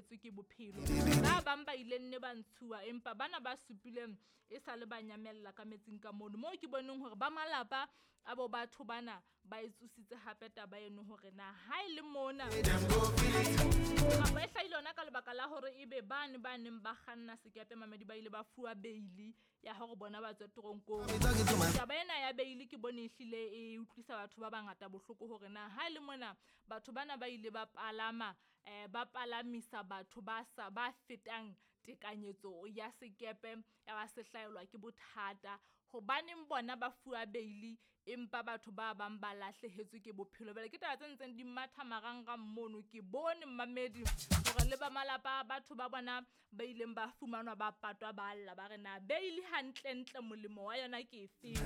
lahlehetswe ke bophelo. Ba bang ba ile nne ba ntshuwa, empa bana ba supileng e sale ba nyamella ka metsing ka mono. Moo ke boneng hore ba malapa a bo batho bana ba e tsositse hape taba eno hore na ha e le mona kapa e hlahile yona ka lebaka la hore ebe bane ba neng ba kganna sekepe mamedi ba ile ba fuwa beili ya hore bona ba tswe toronkong. Taba ena ya beili ke bone ehlile e utlwisa batho ba bangata bohloko hore na ha e le mona batho bana ba ile ba palama ba palamisa batho ba sa ba fetang tekanyetso ya sekepe ya ba se hlaelwa ke bothata. Hobaneng bona ba fuwa beili empa batho ba bang ba lahlehetswe ke bophelo. Jwale ke taba tse ntseng di matha marangrang mono. Ke bone mmamedi hore le ba malapa a batho ba bona ba ileng ba fumanwa ba patwa ba lla ba re na beili hantlentle molemo wa yona ke efeng.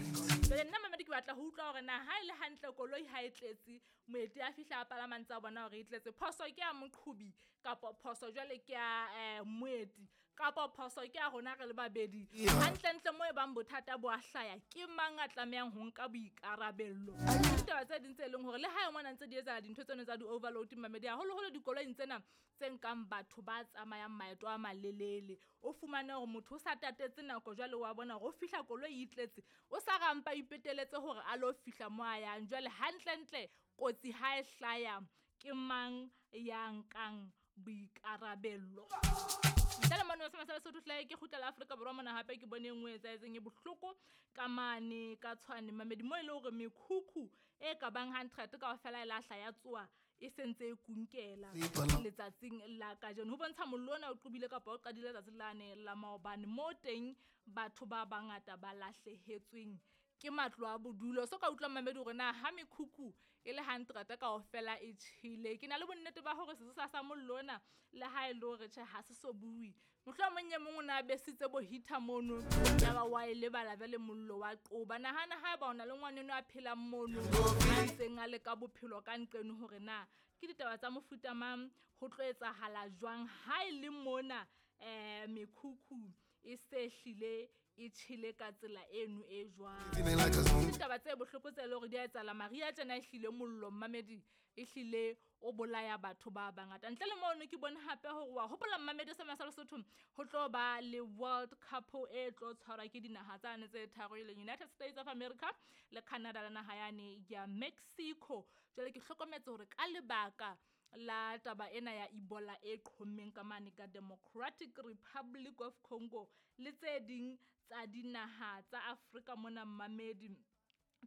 Jwale nna mamedi ke batla ho utlwa hore na ha e le hantle koloi ha e tletse, moeti a fihla a palama ntse a bona hore e tletse, phoso ke ya moqhobi kapa phoso jwale ke ya moeti kapa phoso ke ya rona re le babedi. Hantlentle mo e bang bothata bo a hlaya, ke mang a tlamehang ho nka boikarabello? Ditaba tse ding tse leng hore le hae mona ntse di etsahala dintho tseno tsa di-overload mamedi, haholoholo dikoloing tsena tse nkang batho ba tsamayang maeto a malelele. O fumane hore motho o sa tatetse nako jwale wa bona hore o fihla koloi e tletse, o sa rampa ipeteletse hore a lo fihla mo a yang. Jwale hantlentle kotsi ha e hlaya ke mang ya nkang boikarabello? Ntle le mane wa sa Lesotho hle ke kgutlela Afrika Borwa mona hape ke bone e nngwe e etsahetseng e bohloko ka mane ka Tshwane mamedi mo e le hore mekhukhu e ka bang 100 kaofela e lahla ya tsoa e sentse e kunkela letsatsing la kajeno. Ho bontsha mollo ona o qobile kapa o qadile letsatsi lane la maobane mo teng batho ba bangata ba lahlehetsweng ke matlo a bodulo. So ka utlwa mamedi hore na ha mekhukhu e le 100 kaofela e tjhele, ke na le bonnete ba hore sesosa sa mollo ona le ha e le hore tjhe ha se so bue, mohlomong e mong o na besitse bo heater mono ya ba wa e lebala jwale mollo wa qoba. Nahana haeba o na le ngwaneno a phelang mono a ntseng a leka bophelo ka nqeno hore na ke ditaba tsa mofuta mang, ho tlo etsahala jwang ha e le mona mekhukhu e se hlile e tjhele ka tsela eno e jwang. Ditaba tse bohloko tse leng hore di a etsahala mariha tjena ehlile mollo mmamedi ehlile o bolaya batho ba bangata. Ntle le mono ke bone hape hore wa hopola mmamedi sa Lesotho ho tlo ba le World Cup e tlo tshwarwa ke dinaha tsane tse tharo e leng United States of America le Canada le naha yane ya Mexico. Jwale ke hlokometse hore ka lebaka la taba ena ya Ebola e qhommeng ka mane ka Democratic Republic of Congo le tse ding tsa dinaha tsa Afrika mona mmamedi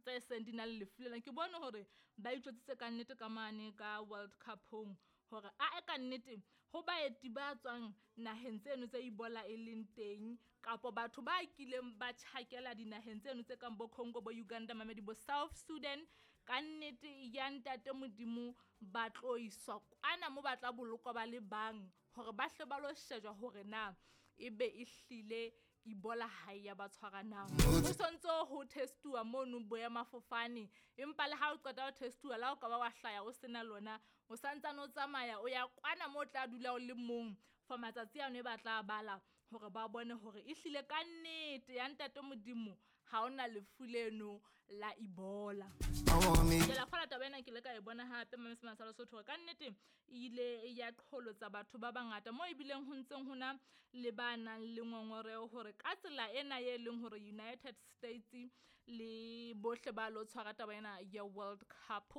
tse seng di na le lefu lena, ke bone hore ba itjwetsitse ka nnete ka mane ka World Cup-ong hore ae ka nnete ho baeti ba tswang naheng tseno tse Ebola e leng teng kapa batho ba kileng ba tjhakela dinaheng tseno tse kang bo Congo, bo Uganda, mamedi bo South Sudan, ka nnete ya ntate Modimo ba tlo iswa kwana mo ba tla bolokwa ba le bang hore ba hle ba lo shejwa hore na ebe e hlile Ebola ha e ya ba tshwara na. Ho sontso ho testuwa mono boemafofane, empa le ha o qeta ho testuwa la o ka ba wa hlaya o sena lona, o santsane o tsamaya o ya kwana mo o tla dula o le mong for matsatsi ano e ba tla bala hore ba bone hore ehlile ka nnete ya ntate Modimo ha ona lefu leno la Ebola. Ke la kgola taba ena ke ile ka e bona hape Mamesema sa Lesotho hore ka nnete e ile ya qholotsa batho ba bangata mo ebileng ho ntseng hona le ba nang le ngongoreho hore ka tsela ena e leng hore United States le bohle ba lo tshwara taba ena ya World Cup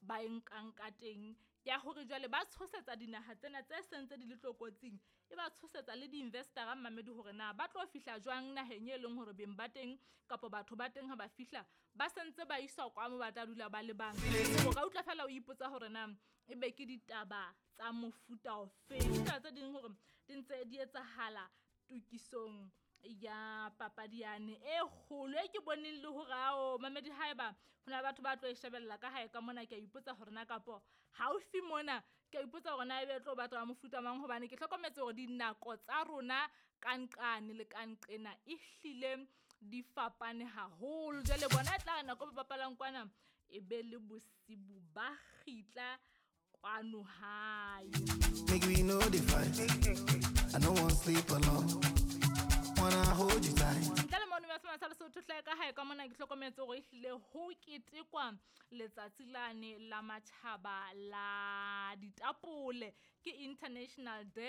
ba e nkang ka teng ya hore jwale ba tshosetsa dinaha tsena tse seng tse di le tlokotsing, e ba tshosetsa le di-investor-a mmamedi hore na ba tlo fihla jwang naheng e leng hore beng ba teng kapa batho ba teng ha ba fihla ba sentse ba iswa kwa mo ba tla dula ba le bang. O ka utlwa fela o ipotsa hore na ebe ke ditaba tsa mofuta ofe. Ditaba tse ding hore di ntse di etsahala tokisong ya papadi yane e kgolo e ke boneng le hore ao mamedi haeba hona le batho ba tlo e shebella ka hae ka mona, ke a ipotsa hore na kapo haufi mona ke a ipotsa hore na ebe e tlo batla wa mofuta mang, hobane ke hlokometse hore dinako tsa rona ka nqane le ka nqena ehlile di fapane haholo. Jwale bona e tla re nako ba bapalang kwana e be le bosibu ba kgitla kwano hae. Make we know the fight. I no want sleep alone. Wanna hold you tight. Ntle le mono wa sa Lesotho hle ka hae ka mona ke hlokometse hore ehlile ho ketekwa letsatsi lane la matjhaba la ditapole, ke International Day